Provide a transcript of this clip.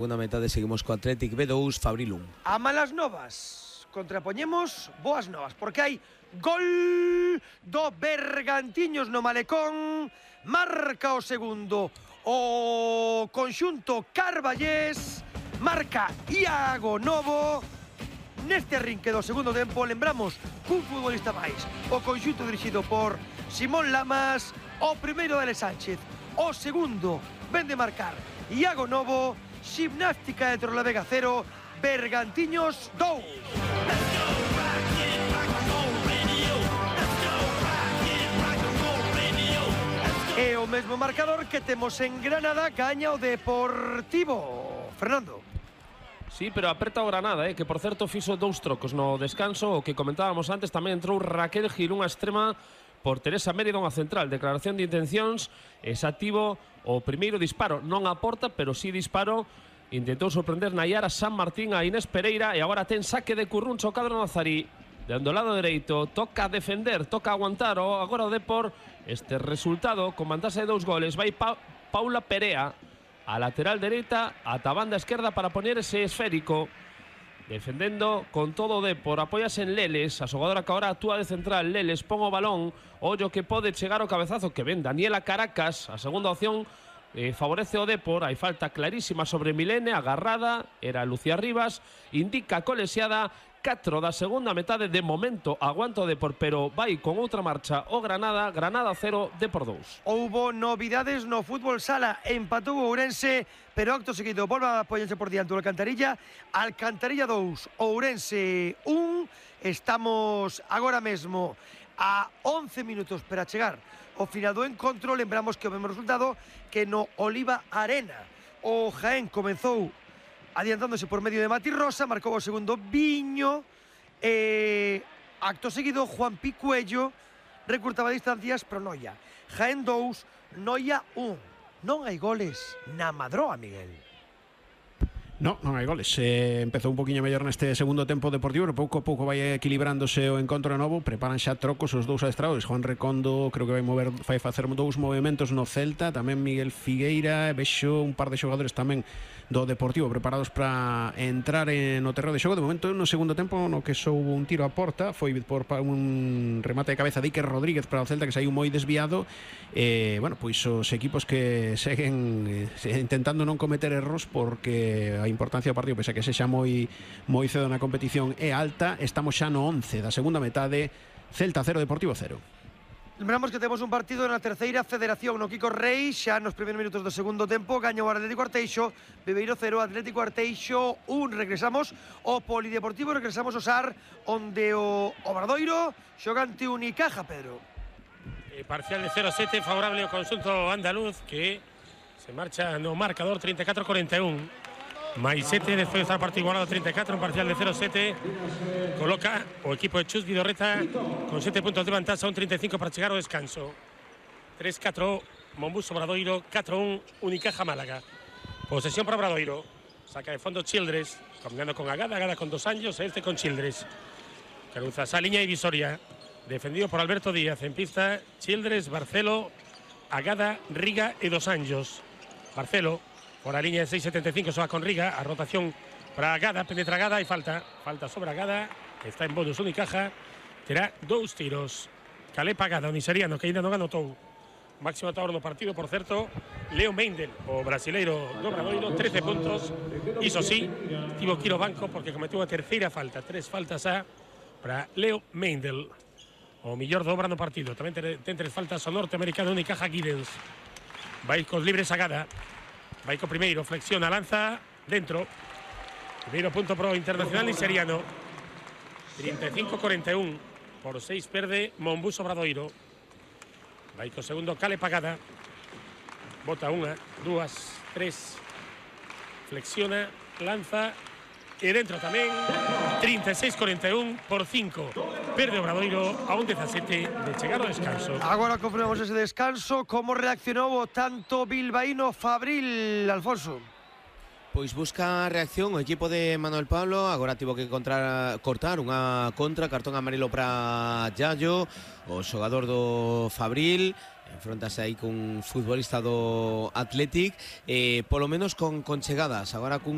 Segunda metade seguimos co Athletic B2, Fabril 1. A malas novas contrapoñemos boas novas, porque hai gol do Bergantiños no Malecón. Marca o segundo o conxunto carballés, marca Iago Novo. Neste arrinque do segundo tempo lembramos cun futbolista máis, o conxunto dirixido por Simón Lamas. O primeiro de Ale Sánchez, o segundo ven de marcar Iago Novo. Gimnástica de Torrelavega 0, Bergantiños 2. E o mesmo marcador que temos en Granada, gaña o Deportivo. Fernando. Sí, pero aperta o Granada, que por certo fixo 2 trocos no descanso. O que comentábamos antes, tamén entrou Raquel Gil, unha extrema, por Teresa Mérida, unha central. Declaración de intencións, exativo o primeiro disparo. Non aporta, pero sí disparo. Intentou sorprender Nayara San Martín a Inés Pereira e agora ten saque de Curruncho o cadro nazarí. Dando o lado dereito, toca defender, toca aguantar agora o Depor. Este resultado, con vantase de 2 goles, vai Paula Perea a lateral dereita, ata a banda esquerda para poñer ese esférico. Defendendo con todo o Depor, apóyase en Leles, a xogadora que agora actúa de central. Leles pon o balón, ollo que pode chegar o cabezazo que ven Daniela Caracas, a segunda opción. Favorece o Depor, hai falta clarísima sobre Milene, agarrada, era Lucía Rivas, indica colexiada. 4 da segunda metade, de momento aguanta o Depor, pero vai con outra marcha o Granada. Granada 0, Depor 2. Houbo novidades no fútbol sala, empatou o Ourense, pero acto seguido volve a poñerse por diante o Alcantarilla. Alcantarilla 2, Ourense 1. Estamos agora mesmo a 11 minutos para chegar ao final do encontro. Lembramos que o mesmo resultado que no Oliva Arena. O Jaén comezou adiantándose por medio de Mati Rosa, marcou o segundo Viño. Acto seguido, Juan Picuello recurtaba distancias pro Noia. Jaén 2, Noia 1. Non hai goles na Madroa, Miguel. Non hai goles. Empezou un poquinho mellor neste segundo tempo Deportivo, pero pouco a pouco vai equilibrándose o encontro novo. Preparan xa trocos os 2 adestrados. Juan Recondo creo que vai facer 2 movementos no Celta, tamén Miguel Figueira, vexo un par de xogadores tamén do Deportivo preparados para entrar no terreo de xogo. De momento no segundo tempo, no que soubo un tiro a porta, foi por un remate de cabeza de Iker Rodríguez para o Celta, que saiu moi desviado. Bueno, pois os equipos que seguen intentando non cometer erros, porque a importancia do partido, pese a que sexa moi cedo na competición, é alta. Estamos xa no 11 da segunda metade. Celta 0, Deportivo 0. Lembramos que temos un partido na terceira federación no Kiko Rei, xa nos primeiros minutos do segundo tempo. Gaña o Atlético Arteixo, Bebeiro 0, Atlético Arteixo 1. Regresamos ao Polideportivo, regresamos ao SAR, onde o Obradoiro xoga ante Unicaja, Pedro. Parcial de 0-7 favorable ao conxunto andaluz, que se marcha no marcador 34-41. Mais 7, despois de estar partido igualado 34, un parcial de 0-7. Coloca o equipo de Chus Vidorreta con 7 puntos de vantaxa, un 35 para chegar ao descanso. 3-4, Monbus Obradoiro, 4-1, Unicaja Málaga. Posesión para Obradoiro. Saca de fondo Childress, combinando con Agada con 2 años, este con Childress. Caruza esa línea divisoria. Defendido por Alberto Díaz. En pista, Childress, Barcelo, Agada, Riga e 2 años. Barcelo por la línea de 6.75, se va con Riga, a rotación para Agada, penetra Agada y falta sobre Agada, está en bonus Unicaja, terá 2 tiros. Calepa Agada, o niseriano, que ainda non anotou. Máximo atador no partido, por certo, Leo Meindel, o brasileiro do Obradoiro, 13 puntos. Iso sí, tivo que ir ao banco porque cometeu a terceira falta, 3 faltas para Leo Meindel, o millor do Obra no partido. Tamén ten 3 faltas o norteamericano Unicaja Giddens. Vai cos libres Agada. Vai co primeiro, flexiona, lanza, dentro. Primeiro punto pro internacional niseriano. 35-41, por 6 perde Monbus Obradoiro. Vai co segundo, Cale Pagada. Bota 1, 2, 3. Flexiona, lanza e dentro tamén. 36-41, por 5 perde Obradoiro a un 17 de chegar ao descanso. Agora confirmamos ese descanso. Como reaccionou o tanto bilbaíno Fabril, Alfonso? Pois busca a reacción o equipo de Manuel Pablo. Agora tivo que cortar unha contra, cartón amarelo para Yayo, o xogador do Fabril. enfrontase aí cun futbolista do Athletic, polo menos con chegadas, agora cun